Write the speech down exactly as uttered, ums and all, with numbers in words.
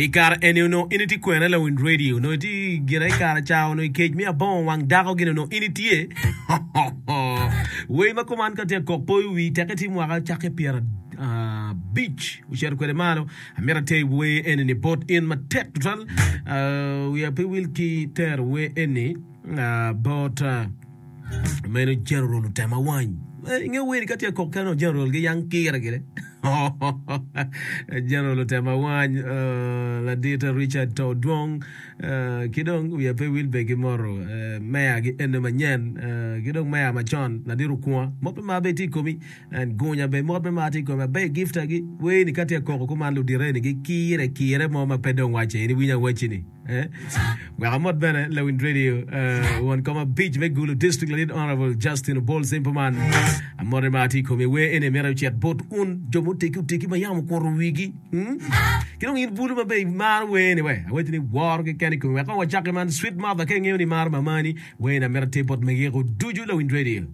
I kare eni onongo in itye kwene lawiny radio? Onongo itye gire i kare ca onongo i kec me abongo wang dako gin onongo in itye? Wer ma kuman ka tye kok poyo wi tekke tye mwaka cakke pyera abic ocito kwede malo. Amito ater wer eni ni bot in matek tutwal. Wiya pe wil ki tero wer eni bot meno General Otema Wany. Inge wer ni ka tye kok kene General giyang kire gire. General Otema Wany, ladit Richard To Dwong ki dong wiya pe wil be ki moto meya gi ene manyen ki dong meya macon ladit Okunga mot me mar bene tye i komi and Gunya bene mot me mar tye i komi aber gifta gi wer ni ka tye koko kuman ludite ni gikire kire mo ma pe dong wace in iwinyo awaci ni Wek amot bene lawiny radio won kom abic me Gulu District ladit Honorable Justin Obol Simple Man. Amote ma atye i komi wer eni mito ocit bot un jo mutegi otegi ma yam okuto wigi. Hmm? Ki dong in bulu ma be imaro wer ni we awaci ni woro keken i komi wek kong wacaki man Sweet Mother ka ingeyo ni imaro mamani wer ni amito ater bot megiko ducu lawiny radio.